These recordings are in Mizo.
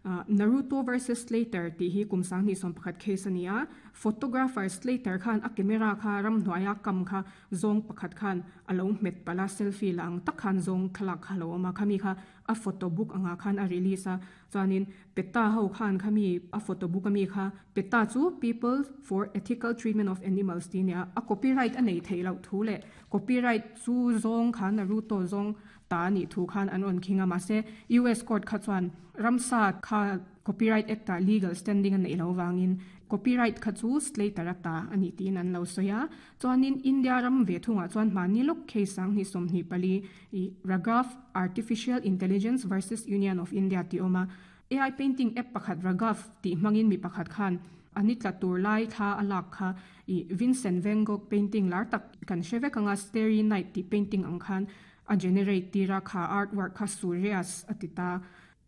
Naruto versus Slater tih hi kum 2011 case a ni a. Photographer Slater khan a camera kha ramhnuaia kam kha zawng pakhat khan a lo hmet palh a, selfie la ang tak khan zawng thlalak kha a lo awm a, khami kha a photo book angah khan a release a. Chuanin PETA ho khan khami a photo book ami kha PETA chu People for Ethical Treatment of Animals tih a ni a, a copyright a nei theih loh thu leh copyright chu zawng kha Naruto zawng ta a nih thu khan an rawn khing a, mahse US court kha chuan ramsa kha copyright act ah legal standing a neih loh vangin copyright kha chu Slater a ta a nih tiin an lo sawi a. Chuanin India ram ve thungah chuan hmahni lawk case 2024 i Raghav Artificial Intelligence versus Union of India tih awm a. AI painting app pakhat Raghav tih hmangin mi pakhat khan a ni tla tur lai thla a lak kha i Vincent van Gogh painting lar tak kan hre vek anga Starry Night tih painting ang khan a generate tir a, kha artwork kha Surreas a ti ta.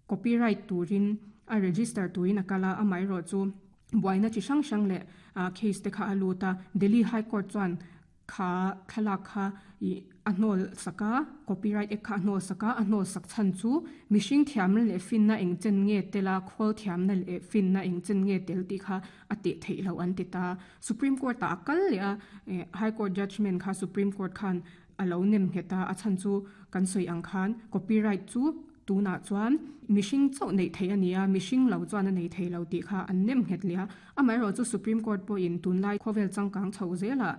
Copyright turin a register turin a kal a, amaherawh chu buaina chi hrang hrang leh case te kha a lut a. Delhi High Court chuan kha thlalak kha ih a hnawl sak a, copyright act kha a hnawl sak a, a hnawl sak chhan chu mihring thiamna leh finna eng chen nge tel a, khawl thiamna leh finna eng chen nge tel tih kha a teh theih loh an ti ta. Supreme Court ah a kal leh a, High Court judgement kha Supreme Court khan a lo nem nghet a, a chhan chu kan sawi ang khan copyright chu tunah chuan mihring chauh neih theih a ni a, mihring lo chuan a nei thei lo tih kha an nem nghet leh a. Amaherawh chu Supreme Court pawhin tunlai khawvel changkang chho zelah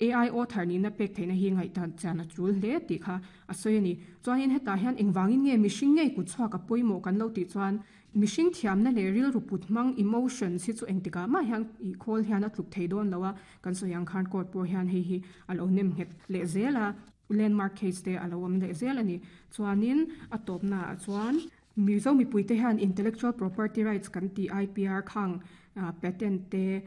AI author nihna pek theihna hi ngaihdan chian a tul hle tih kha a sawi a ni. Chuanin hetah hian engvangin nge mihring ngei kut chhuak a pawimawh kan lo tih chuan mihring thiamna leh rilru put hmang, emotions, hi chu engtikah mah hian ih khawl hian a tluk thei dawn lo a, kan sawi ang khan court pawh hian hei hi a lo nem nghet leh zel a, landmark case te a lo awm leh zel a ni. Chuanin a tawpnaah chuan Mizo mipuite hian Intellectual Property Rights kan tih IPR khang patent te,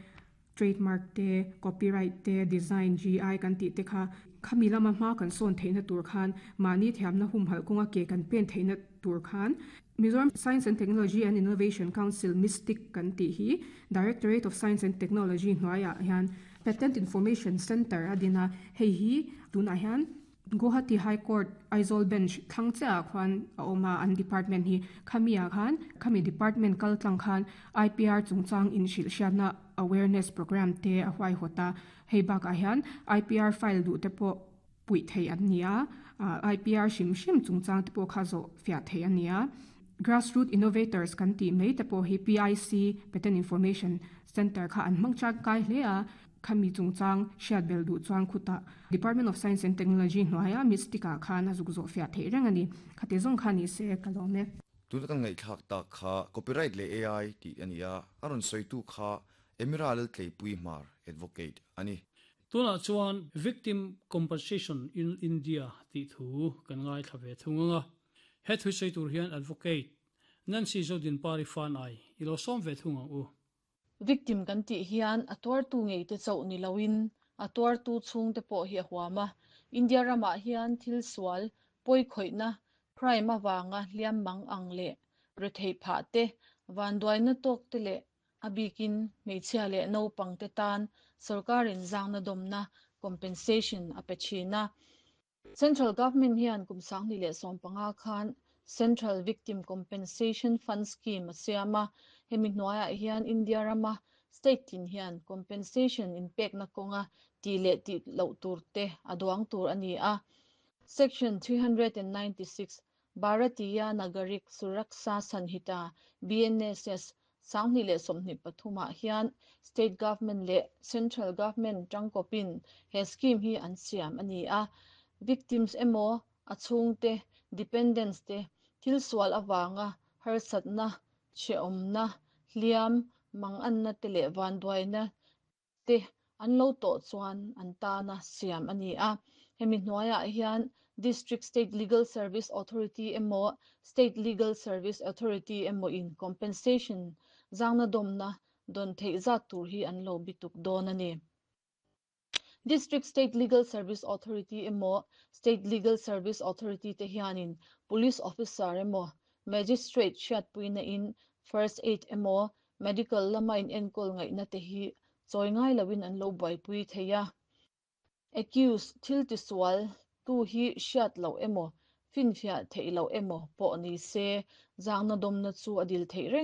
trademark te, copyright te, design, GI kan tih te kha khami lama hma kan sawn theihna tur khan mahni thiamna humhalh kawnga ke kan pen theihna tur khan Mizoram Science and Technology and Innovation Council, MISTIC, kan tih hi Directorate of Science and Technology hnuaiah hian Patent Information Centre a din a, hei hi tunah hian Guwahati High Court Aizawl Bench thlang chiahah khuan a awm a, an department hi khami ah khan khami department kal tlang khan IPR chungchang inhrilh hriatna awareness programme te a huaihawt a, hei bakah hian IPR file duh te pawh puih theih an ni a, IPR hrim hrim chungchang te pawh kha zawh fiah theih a ni a. Grassroot Innovators kan tih mai te pawh hi PIC, Patent Information Centre kha an hmang tangkai hle a. Khami chungchang hriat bel duh chuan khutah Department of Science and Technology hnuaia Mystic ah khan a zuk zawh fiah theih reng a ni. Khati zawng kha ni se ka lawm e. Tuna kan ngaihthlak tak kha Copyright leh AI tih a ni a, a rawn sawitu kha Emira Laltleipui Hmar, Advocate, a ni. Tunah chuan Victim Compensation in India tih thu kan ngaithla ve thung ang a. He thu sawi tur hian Advocate Nancy Zodinpari Fanai i lo sawm ve thung ang u. Victim kan tih hian a tuartu ngei te chauh ni loin a tuartu chhungte pawh hi a huam a. India ramah hian thil sual, pawikhawihna, crime avanga hliam mang ang leh retheih phah te, vanduaina tawk te leh a bikin hmeichhia leh naupang te tan sorkarin zangna dawmna, compensation, a pe thin a. Central Government hian kum 2015 khan Central Victim Compensation Fund Scheme a siam a, hemi hnuaiah hian India rama state tin hian compensation inpekna kawnga tih leh tih loh tur te a duang tur a ni a. Section 396, Bharatiya Nagarik Suraksha Sanhita, BNSS, 2023 ah hian State Government leh Central Government tangkawpin he scheme hi an siam a ni a. Victims emaw, a chhungte, dependents te thil sual avanga harsatna, hrehawmna, hliam, manganna te leh vanduaina te an lo tawh chuan an tana siam a ni a. Hemi hnuaiah hian District State Legal Service Authority emaw State Legal Service Authority emaw in compensation zangna dawmna dawn theih zat tur hi an lo bituk dawn a ni. District State Legal Service Authority emaw State Legal Service Authority te hianin Police Officer emaw Magistrate hriatpuina in First Aid emaw Medical lama inenkawl ngaihna te hi chawi ngai loin an lo buaipui thei a. Accused, thil tisual tu hi hriat loh emaw, finfiah theih loh emaw pawh ni se, zangna dawmna chu a dil theih reng.